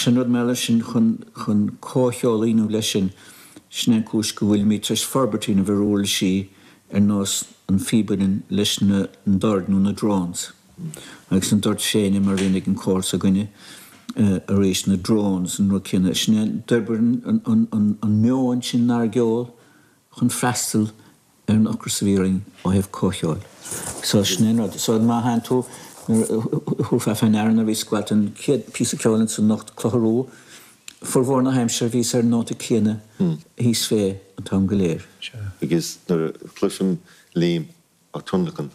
Ach sin rud mar sin chun chun comhcheol a dhéanamh leis sin, sin é an cúis go bhfuilimid tar éis forbairt a dhéanamh ar uirlisí ar nós an phíb uilleann leis na doird nó na drones. Agus na doird féine mar a bhíonn ag an cór s'againne arís, na drones, an rud céanna. Sin é, d'oibrigh an meon sin inár gceol chun freastal ar an ocras a bhí orainn ó thaobh comhcheoil. So sin é an rud. So má théann tú, nuair a thabharfá fé ndeara nuair a bhíos ag gabháil don chéad phíosa ceoil ansan anocht, Clocha Rua, formhór na haimsire bhíos ar an nóta céanna thíos fé an t-am go léir. Agus nuair a chloisim Liam á tionlacan,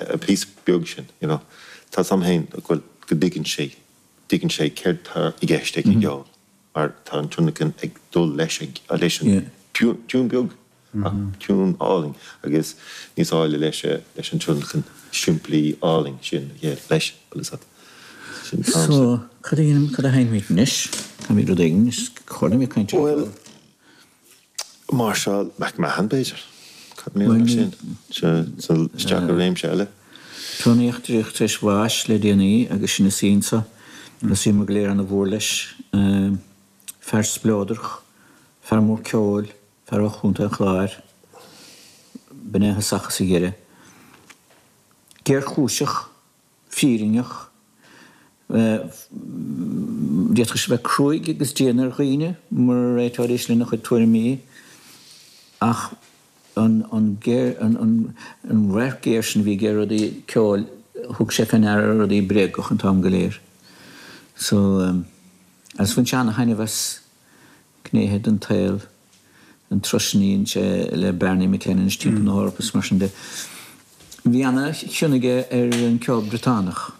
an píosa beag sin, you know, tá 's a'm féin go bhfuil, go dtuigeann sé, dtuigeann sé céard tá i gceist ag an gceol mar tá an tionlacan ag dul leis, leis an tiún beag ach tiún álainn agus níos áille leis, leis an tionlacan simplí álainn sin leis, bhfuil 'fhios a'd. Sin an So, cad a dhéanaim, cad a sheinnimid anois? Caithfimid rud éigin, is chóir dom ag caint ar Bhuel, Máirseáil McMahon, b'fhéidir? Cad mar gheall air sin? Sin isteach i réimse eile. Tony Eachtraíoch tar éis bháis le déanaí agus sinn ina suí anso agus bhíomar go léir ana mhór leis. Fear spleodrach, fear mór ceoil, fear ó Chontae an Chláir. B'in é a thosach is a dheireadh. Géarchúiseach. fírinneach. D'fhéadfadh sé bheith cruaidh agus dian ar dhaoine mura réiteoidís lena chuid tuairimí ach an radharc géar sin a bhí aige ar rudaí ceoil, thug sé fé ndeara rudaí bréagach an t-am go léir. So, agus bhain sé ana-thaitneamh as gnéithe den tsaol. an turas sin a dhein sé le Barney McKenna anois timpeall na hEorpa is mar sin de. Bhí ana chion aige ar an ceol Briotánach,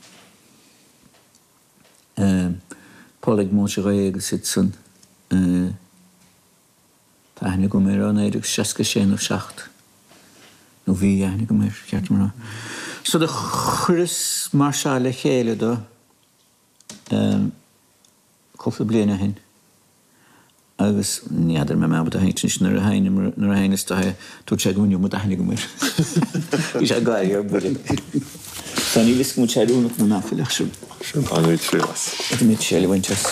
Polig Monchery agus iad san. Tá aithne agam air ó 1966 nó 7, nó bhí aithne agam air, ceart dom a rá. So do chuireas máirseáil le chéile do cúpla bliain ó shin. Agus ní fheadar an mbeidh mé ábalta a sheinnt anois nuair a sheinnim, nuair a sheinneas do é, dúirt sé go bhfuil an iomad aithne agam air. Bhí sé ag gáire ar buile. So níl fhios agam an bhfuil sé oiriúnach nó nach bhfuil ach sin. Sin an triail as. Caithfimid triail a bhaint as.